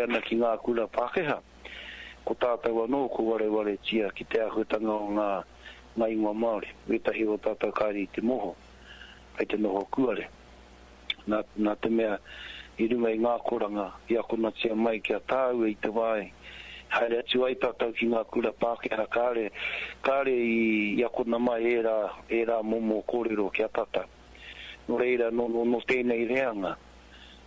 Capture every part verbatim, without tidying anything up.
ana ki ngā kura Pākehā, ko tātou anō ko warewaretia ki te āhuatanga o ngā, ngā ingoa Māori. Wētahi o tātou kāre i te moho, kei te noho kuare. Nā, nā te mea, i runga i ngā akoranga i akonatia mai ki a tāua i te wā i haere atu ai tātou ki ngā kura Pākehā, kāre, kāre i, i akona mai ērā, ērā momo kōrero ki a tātou. Nō reira, nō, nō, nō tēnei reanga,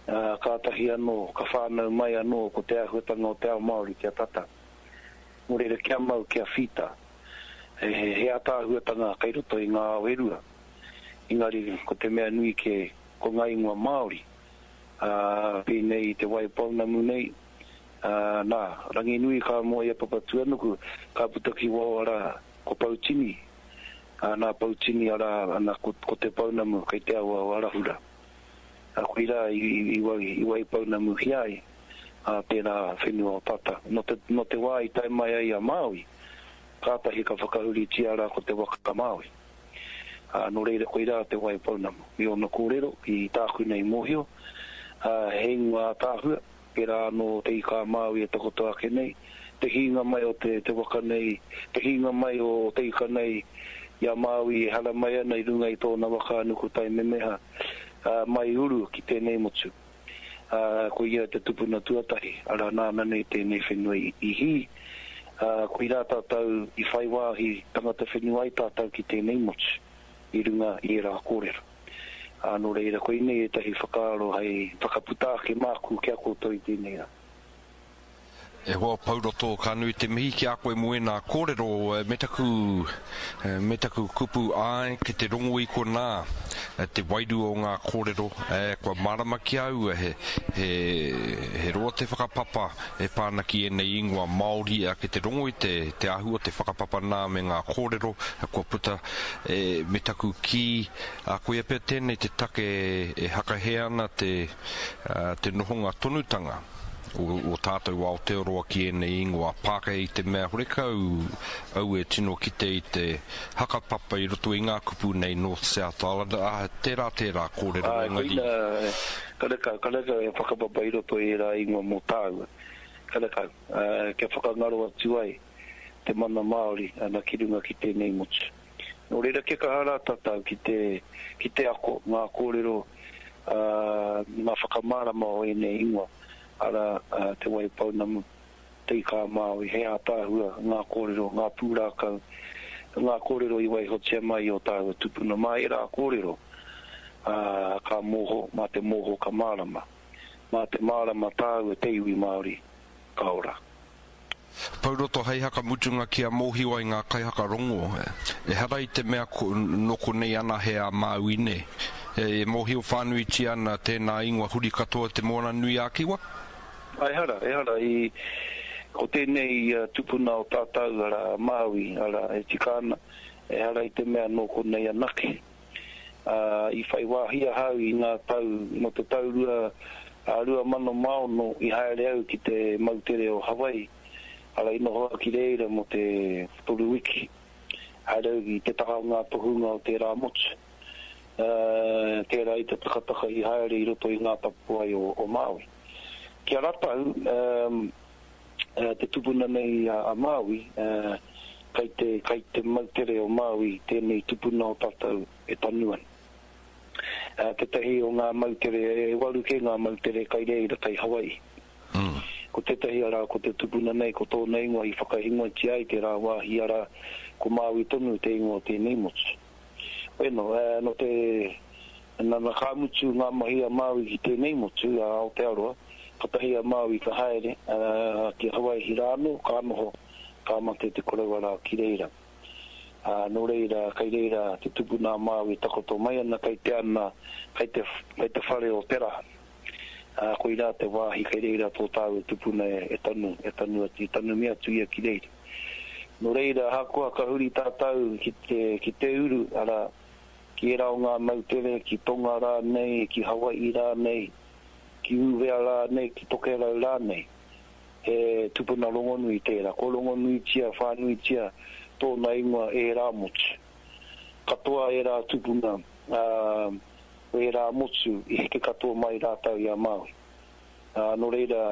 ā, kātahi anō, ka whānau mai anō ko te āhuatanga o te ao Māori ki a tātou. Nō reira, kia mau, kia whita. He, he, he ātaahuatanga kei roto i ngā ao e rua. Engari, ko te mea nui kē, ko ngā ingoa Māori, ā, pēnei i Te Waipounamu nei, ā, nā, Ranginui ka moe i a Papatūānuku, ka puta ki waho arā, ko Poutini, ā, nā Poutini arā, ana, ko, ko Te Pounamu kei te awa o Arahura. Ā, koirā i, i, i, wai, i Waipounamuhia ai, ā, tērā whenua o tata. Nō te, nō te wā i tae mai ai a Māui, kātahi ka whakahuritia rā ko te waka Māui. Ā, nō reira koirā te Waipounamu. Me ōna kōrero, i tāku nei mōhio, ā, he ingoa ātaahua, pērā anō te Ika a Māui e takoto ake nei, te hīnga mai o te, te waka nei, te hīnga mai o te ika nei i a Māui e haramai ana i runga i tōna waka a Nukutaimemeha, ā, mai uru ki tēnei motu. Ā, ko ia te tupuna tuatahi, arā, nāna nei tēnei whenua i, i hī, ā, koirā tātou i whai wāhi tangata whenua ai tātou ki tēnei motu, i runga i ērā kōrero. Ā, nō reira, koinei ētahi whakaaro hei whakaputa ake māku ki a koutou i tēnei rā. E hoa Pouroto, ka nui te mihi ki a koe mō ēnā kōrero, me taku, me taku kupu āe ki te rongo i konā te wairua o ngā kōrero, kua mārama ki a au he, he, he roa te whakapapa e pā ana ki ēnei ingoa Māori, ki te rongo i te, te āhua o te whakapapa nā me ngā kōrero kua puta, e, me taku kī, koia pea tēnei te take e hakahē ana te, te nohonga tonutanga o, o tātou Aotearoa ki ēnei ingoa Pākehā i te mea horekau au e tino kite i te hakapapa i roto i ngā kupu nei North South Island, ah, tērā tērā kōrero Āe, engari. koina, karekau, karekau he whakapapa i roto i ērā ingoa mō tāua. Karekau, ā, kia whakangaro atu ai te mana Māori ana ki runga ki tēnei motu. Nō reira kia kaha rā tātou ki te, ki te ako ngā kōrero, ā, ngā whakamārama o ēnei ingoa, arā, Te Waipounamu, Te Ika-a-Māui, he ātaahua ngā kōrero, ngā pūrākau, ngā kōrero i waihotia mai i ō tāua tupuna. Mā ērā kōrero, ā, ka mōho, mā te mōho ka mārama. Mā te mārama tāua te iwi Māori ka ora. Pouroto hei haka mutunga kia mōhio ai ngā kaihaka rongo, ehara i te mea nō konei anahe a Māui nē. E mōhio whānuitia ana tēnā ingoa huri katoa Te Moana-nui-a-Kiwa? Ehara, ehara, i, ko tēnei tupuna o tātou, arā, a Māui, arā, e tika ana, ehara i te mea nō konei anake. Ā, i whai wāhi ahau i ngā tau, nō te tau rua, ā, rua mano mā ono i haere au ki te moutere o Hawaii, arā, i noho au ki reira mō te toru wiki. Haere au ki te taha o ngā tohunga o tērā motu, ā, tērā i te takataka i haere i roto i ngā tapuwae o, o Māui. Ki a ratou, ā, te tupuna nei a Māui, ā, kei te, kei te moutere o Māui tēnei tupuna o tātou e tanu ana. Ā, tētahi o ngā moutere, e waru kē ngā moutere kei reira, kei Hawaii. Mm. Ko tētahi arā, ko te tupuna nei, ko tōna ingoa i whakaingoatia ai tērā wāhi arā, ko Māui tonu te ingoa o tēnei motu. Bueno, ā, nō te, nana ka mutu ngā mahi a Māui ki tēnei motu, a Aotearoa, katahi a Māui ka haere, ā, ki Hawaii rā anō, ka noho, ka mate te koroua rā ki reira. Ā, nō reira, kei reira te tupuna a Māui takoto mai ana, kei te ana, kei te, kei te whare o Te Raha. Ā, koirā te wāhi kei reira tō tāua tupuna e, e tanu, e tanu atu, i tanumi atu ia ki reira. Nō reira, ahakoa ka huri tātou ki te, ki te uru, arā, ki ērā o ngā moutere, ki Tonga rānei, ki Hawai'i rānei, ki Uvea rānei, ki Tokerau rānei, He tupuna rongonui tērā. Kua rongonuitia whānuitia tōna ingoa e ērā motu. Katoa ērā tupuna, ā, o ērā motu i heke katoa mai rātou i a Māui. Ā, nō reira,